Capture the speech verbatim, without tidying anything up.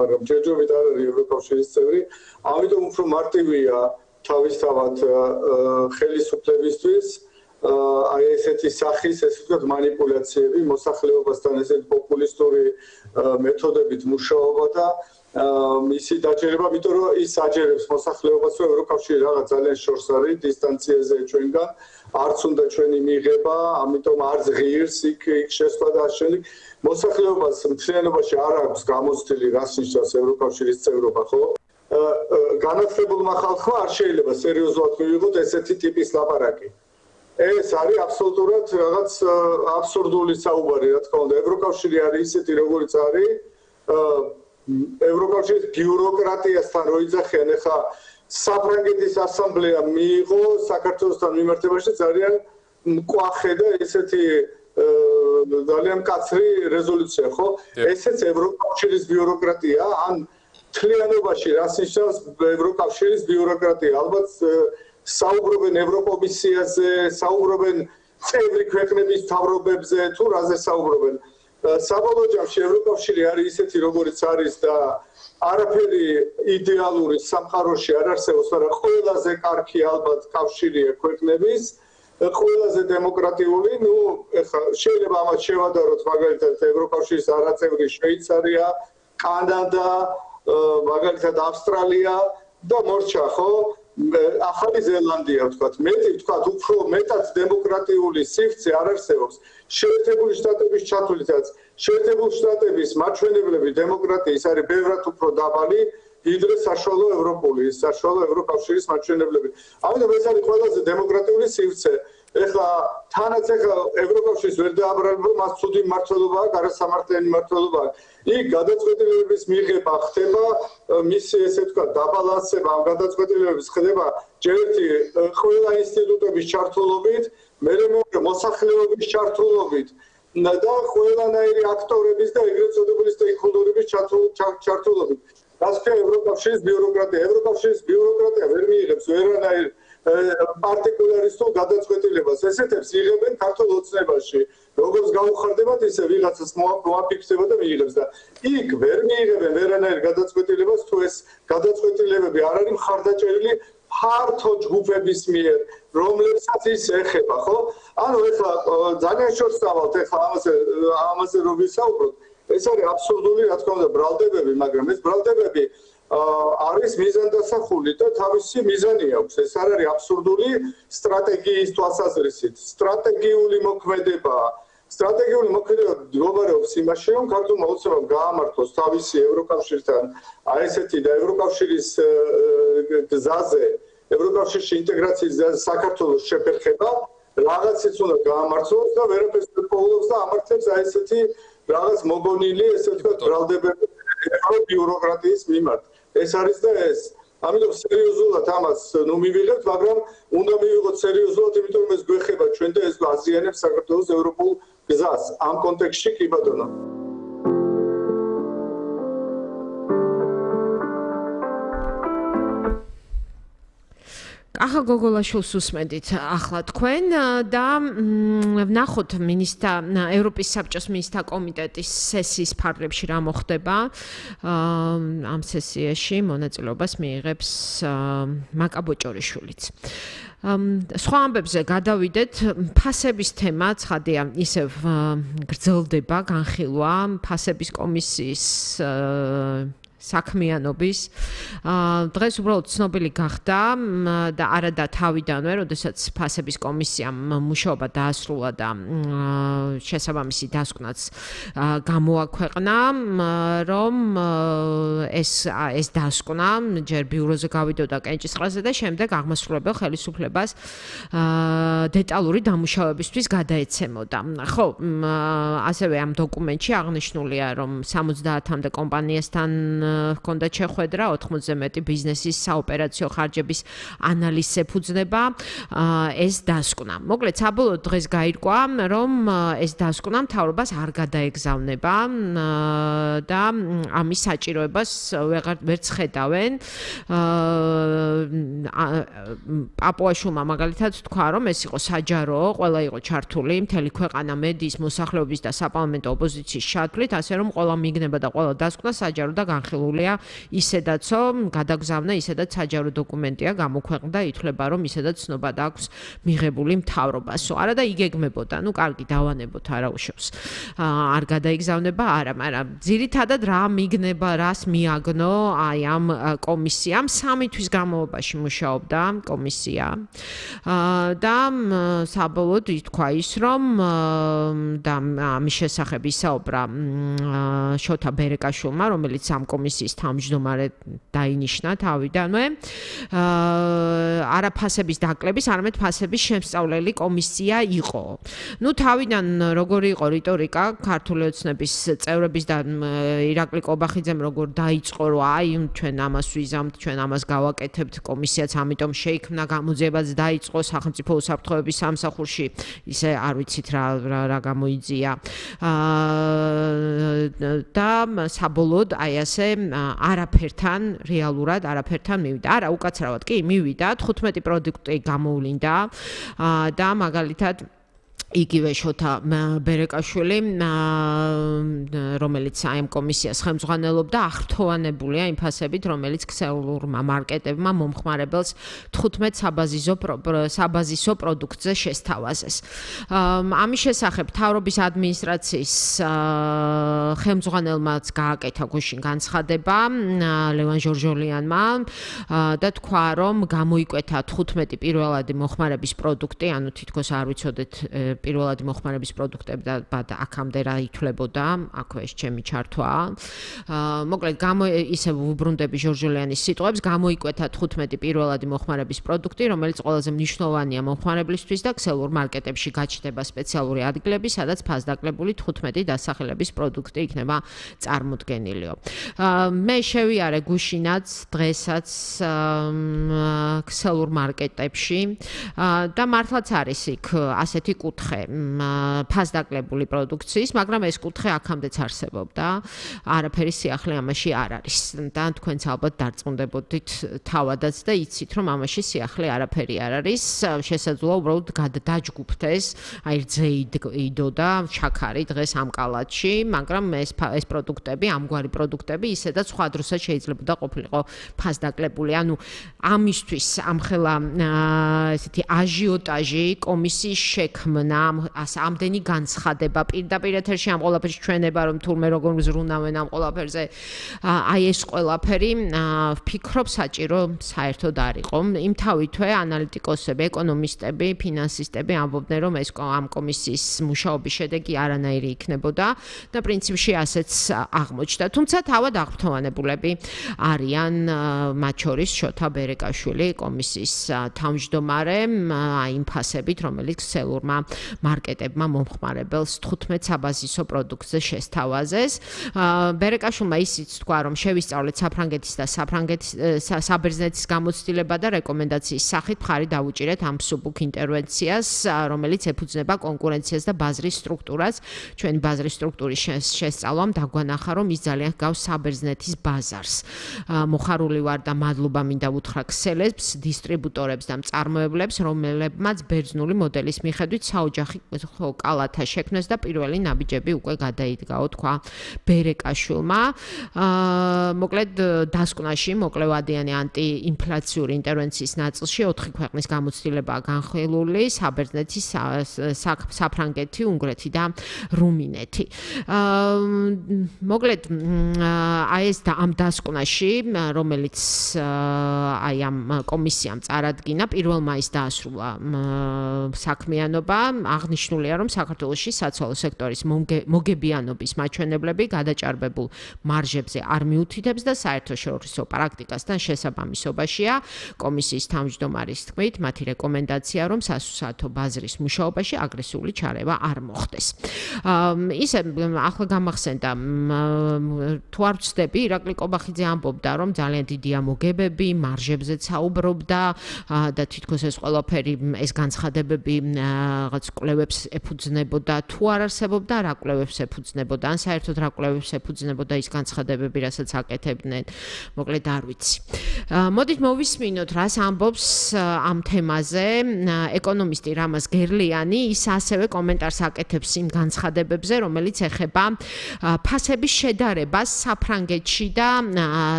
მაგრამ ჯერჯერობით არ არის ევროკავშირის წევრი, ამიტომ უფრო მარტივია თავისთავად ხელისუფლებისთვის აი ესეთი სახის, ესე ვთქვათ, манипуляციები, მოსახლეობასთან ესეთი პოპულისტური მეთოდებით მუშაობა და მისი დაჯერება, იმიტომ რომ ის აჯერებს მოსახლეობას, რომ ევროკავშირი რაღაც ძალიან შორს არის დისტანციაზე ჩვენგან, არც უნდა ჩვენი მიღება, ამიტომ არც ღირს იქ შესვლა და ამავდროულად მოსახლეობას მთლიანობაში არ აქვს გამოცდილი, რას ნიშნავს ევროკავშირის წევრობა, ხო? განათლებულმა ხალხმა არ შეიძლება სერიოზულად მივიღოთ ესეთი ტიპის ლაპარაკი. ეს არის აბსოლუტურად რაღაც აბსურდული საუბარი, რა თქმა უნდა, ევროკავშირი არის ისეთი, როგორიც არის. ევროკავშირის ბიუროკრატიასთან რო იძახიან, ეხლა საფრანგეთის ასამბლეა მიიღო საქართველოსთან მიმართებაში ძალიან მკვახე და ესეთი ძალიან მკაცრი რეზოლუცია, ხო? ესეც ევროკავშირის ბიუროკრატია, ან მთლიანობაში რას ნიშნავს ევროკავშირის ბიუროკრატია? ალბათ საუბრობენ ევროკომისიაზე, საუბრობენ წევრი ქვეყნების მთავრობებზე, თუ რაზე საუბრობენ. საბოლოო ჯამში ევროკავშირი არის ისეთი, როგორიც არის და არაფერი იდეალური სამყაროში არ არსებობს, მაგრამ ყველაზე კარგი ალბათ კავშირია ქვეყნების, ყველაზე დემოკრატიული, ნუ ეხლა შეიძლება ამას შევადაროთ მაგალითად ევროკავშირის არაწევრი შვეიცარია, კანადა, მაგალითად ავსტრალია და მორჩა, ხო? ახალი ზელანდია ვთქვათ, მეტი ვთქვათ, უფრო მეტად დემოკრატიული სივრცე არ არსებობს. შეერთებული შტატების ჩათვლითაც, შეერთებული შტატების მაჩვენებლები დემოკრატიის არის ბევრად უფრო დაბალი, ვიდრე საშუალო ევროპული, საშუალო ევროკავშირის მაჩვენებლები. ამიტომ ეს არის ყველაზე დემოკრატიული სივრცე. ეხლა თანაც ეხლა ევროკავშირის ვერ დააბრალებ, რომ მას ცუდი მმართველობა აქვს, არასამართლიანი მმართველობა აქვს. იქ გადაწყვეტილებების მიღება ხდება, მისი ესე ვთქვათ, დაბალანსება ამ გადაწყვეტილებების ხდება ჯერ ერთი ყველა ინსტიტუტების ჩართულობით, მერე მეორე მოსახლეობის ჩართულობით და ყველანაირი აქტორების და ეგრეთ წოდებული სტეიკჰოლდერების ჩართულობით. რაც ქვია ევროკავშირის ბიუროკრატია. ევროკავშირის ბიუროკრატია ვერ მიიღებს ვერანაირ პარტიკულარისტულ გადაწყვეტილებას. ესეთებს იღებენ ქართულ ოცნებაში. როგორც გაუხარდებათ, ისე ვიღაცას მოაფიქსება და მიიღებს და იქ ვერ მიიღებენ ვერანაირ გადაწყვეტილებას, თუ ეს გადაწყვეტილებები არ არის მხარდაჭერილი ფართო ჯგუფების მიერ, რომლებსაც ის ეხება, ხო? ანუ ეხლა ძალიან შორს დავალთ, ეხლა ამაზე ამაზე რომ ვისაუბროთ, ეს არის აბსურდული, რა თქმა უნდა, ბრალდებები, მაგრამ ეს ბრალდებები არის მიზანდასახული და თავისი მიზანი აქვს. ეს არ არის აბსურდული სტრატეგიის თვალსაზრისით. სტრატეგიული მოქმედებაა. სტრატეგიული მოქმედება მდგომარეობს იმაში, რომ ქართულმა ოცნებამ გაამართლოს თავისი ევროკავშირთან აი ესეთი და ევროკავშირის გზაზე, ევროკავშირში ინტეგრაციის საქართველოს შეფერხება, რაღაციც უნდა გაამართლოს და ვერაფერს ვერ პოულობს და ამართლებს აი ესეთი რაღაც მოგონილი, ესე ვთქვათ, ბრალდებები ევრობიუროკრატიის მიმართ. ეს არის და ეს. ამიტომ სერიოზულად ამას ნუ მივიღებთ, მაგრამ უნდა მივიღოთ სერიოზულად, იმიტომ რომ ეს გვეხება ჩვენ და ეს აზიანებს საქართველოს ევროპულ გზას. ამ კონტექსტში კი ბატონო. ახლა გოგოლაშვილს უსმენდით ახლა თქვენ და ვნახოთ მინისტრთა ევროპის საბჭოს მინისტრთა კომიტეტის სესიის ფარგლებში რა მოხდება. ამ სესიაში მონაწილეობას მიიღებს მაკა ბოჭორიშვილიც. სხვა ამბებზე გადავიდეთ, ფასების თემა ცხადია ისევ გრძელდება, განხილვა ფასების კომისიის საქმიანობის. დღეს უბრალოდ ცნობილი გახდა და არადა თავიდანვე, როდესაც ფასების კომისიამ მუშაობა დაასრულა და შესაბამისი დასკვნაც გამოაქვეყნა, რომ ეს ეს დასკვნა ჯერ ბიუროზე გავიდოდა კენჭისყრაზე და შემდეგ აღმასრულებელ ხელისუფლებას დეტალური დამუშავებისთვის გადაეცემოდა. ხო, ასევე ამ დოკუმენტში აღნიშნულია, რომ სამოცდაათამდე კომპანიასთან ჰქონდა შეხვედრა, ოთხმოცზე მეტი ბიზნესის საოპერაციო ხარჯების ანალიზს ეფუძნება ეს დასკვნა. მოკლედ, საბოლოოდ დღეს გაირკვა, რომ ეს დასკვნა მთავრობას არ გადაეგზავნება და ამის საჭიროებას ვერც ხედავენ. პაპუაშვილმა მაგალითად თქვა, რომ ეს იყო საჯარო, ყველა იყო ჩართული, მთელი ქვეყანა მედიის, მოსახლეობის და საპარლამენტო ოპოზიციის ჩათვლით, ასე რომ ყველა მიგნება და ყველა დასკვნა საჯარო და განხილვა გაგრძელულია ისედაცო გადაგზავნა ისედაც საჯარო დოკუმენტია გამოქვეყნდა ითვლება რომ ისედაც ცნობა აქვს მიღებული მთავრობას არა და იგეგმებოდა ნუ კარგი დავანებოთ არა უშავს არ გადაიგზავნება არა მაგრამ ძირითადად რა მიგნება რას მიაგნო აი ამ კომისიამ სამი თვის განმავლობაში მუშაობდა კომისია და საბოლოოდ ითქვა ის რომ და ამის შესახებ ისაუბრა შოთა ბერეკაშვილმა რომელიც ამ კომისიის თავმჯდომარედ დაინიშნა თავიდანვე არა ფასების დაკლების არამედ ფასების შემსწავლელი კომისია იყო ნუ თავიდან როგორი იყო რიტორიკა ქართული ოცნების წევრების და ირაკლი კობახიძემ როგორ დაიწყო რომ აი ჩვენ ამას ვიზამთ ჩვენ ამას გავაკეთებთ კომისიაც ამიტომ შეიქმნა გამოძიებაც დაიწყო სახელმწიფო უსაფრთხოების სამსახურში ისე არ ვიცით რა რა გამოიძია და საბოლოოდ აი ასე არაფერთან რეალურად არაფერთან მივიდა არა უკაცრავად კი მივიდა თხუთმეტი პროდუქტი გამოვლინდა და მაგალითად იგივე შოთა ბერეკაშვილი რომელიც აი ამ კომისიას ხელმძღვანელობდა აღრთოვანებულია იმ ფასებით რომელიც ქსელურმა მარკეტებმა მომხმარებელს თხუთმეტ საბაზისო საბაზისო პროდუქტზე შესთავაზეს ამის შესახებ მთავრობის ადმინისტრაციის ხელმძღვანელმაც გააკეთა გუშინ განცხადება ლევან ჟორჟოლიანმა და თქვა რომ გამოიკვეთა თხუთმეტი პირველადი მოხმარების პროდუქტი ანუ თითქოს არ ვიცოდეთ პირველადი მოხმარების პროდუქტები და აქამდე რა ითვლებოდა, აქვე ეს ჩემი ჩართვაა. მოკლედ გამო ისე ვუბრუნდები ჟორჟოლიანის სიტყვებს, გამოიკვეთა თხუთმეტი პირველადი მოხმარების პროდუქტი, რომელიც ყველაზე მნიშვნელოვანია მომხმარებლისთვის და ქსელურ მარკეტებში გაჩნდება სპეციალური ადგილები, სადაც ფასდაკლებული თხუთმეტი დასახელების პროდუქტი იქნება წარმოდგენილიო. მე შევიარე გუშინაც, დღესაც ქსელურ მარკეტებში და მართლაც არის იქ ასეთი კუთხე ფასდაკლებული პროდუქციის, მაგრამ ეს კუთხე აქამდეც არსებობდა. არაფერი სიახლე ამაში არ არის. და თქვენც ალბათ დარწმუნდებოდით თავადაც და იცით, რომ ამაში სიახლე არაფერი არ არის. შესაძლოა უბრალოდ დაჯგუფდეს, აი რძეიდო და ჩაქარი დღეს ამ კალათში, მაგრამ ეს ეს პროდუქტები, ამგვარი პროდუქტები ისედაც სხვა დროსაც შეიძლებოდა ყოფილიყო ფასდაკლებული. ანუ ამისთვის ამხელა ესეთი აჟიოტაჟი კომისიის შექმნა ამდენი განცხადება პირდაპირ ეთერში ამ ყველაფერს ჩვენება რომ თურმე როგორ ზრუნავენ ამ ყველაფერზე აი ეს ყველაფერი ვფიქრობ საჭირო საერთოდ არ იყო იმთავითვე ანალიტიკოსები ეკონომისტები ფინანსისტები ამბობდნენ რომ ეს ამ კომისიის მუშაობის შედეგი არანაირი იქნებოდა და პრინციპში ასეც აღმოჩნდა თუმცა თავად აღფრთოვანებულები არიან მათ შორის შოთა ბერეკაშვილი კომისიის თავმჯდომარე აი იმ ფასებით რომელიც ქსელურმა მარკეტებმა მომხმარებელს თხუთმეტ საბაზისო პროდუქტზე შესთავაზეს. ბერეკაშვილმა ისიც თქვა, რომ შევისწავლეთ საფრანგეთის და საფრანგეთის საბერძნეთის გამოცდილება და რეკომენდაციის სახით მხარი დავუჭირეთ ამ მსუბუქ ინტერვენციას, რომელიც ეფუძნება კონკურენციას და ბაზრის სტრუქტურას. ჩვენ ბაზრის სტრუქტურის შესწავლამ დაგვანახა, რომ ის ძალიან ჰგავს საბერძნეთის ბაზარს. მოხარული ვარ და მადლობა მინდა უთხრა ქსელებს, დისტრიბუტორებს და მწარმოებლებს, რომლებმაც ბერძნული მოდელის მიხედვით საოჯახი კალათა შექმნეს და პირველი ნაბიჯები უკვე გადაიდგაო, თქვა ბერეკაშვილმა. მოკლედ დასკვნაში მოკლევადიანი ანტიინფლაციური ინტერვენციის ნაწილში ოთხი ქვეყნის გამოცდილებაა განხილული: საბერძნეთი, საფრანგეთი, უნგრეთი და რუმინეთი. მოკლედ აი ეს და ამ დასკვნაში, რომელიც აი ამ კომისიამ წარადგინა, პირველ მაისს დაასრულა საქმიანობა. აღნიშნულია, რომ საქართველოში საცვალო სექტორის მოგებიანობის მაჩვენებლები გადაჭარბებულ მარჟებზე არ მიუთითებს და საერთაშორისო პრაქტიკასთან შესაბამისობაშია. კომისიის თავმჯდომარის თქმით, მათი რეკომენდაცია, რომ სასუსათო ბაზრის მუშაობაში აგრესიული ჩარევა არ მოხდეს. ისე ახლა გამახსენდა, თუ არ ვცდები, ირაკლი კობახიძე ამბობდა, რომ ძალიან დიდია მოგებები, მარჟებზე საუბრობდა და თითქოს ეს ყველაფერი ეს განცხადებები რაღაც კვლევებს ეფუძნებოდა, თუ არ არსებობდა, რა კვლევებს ეფუძნებოდა, ან საერთოდ რა კვლევებს ეფუძნებოდა ის განცხადებები, რასაც აკეთებდნენ. მოკლედ არ ვიცი. მოდით მოვისმინოთ, რას ამბობს ამ თემაზე ეკონომისტი რამაზ გერლიანი, ის ასევე კომენტარს აკეთებს იმ განცხადებებზე, რომელიც ეხება ფასების შედარებას საფრანგეთში და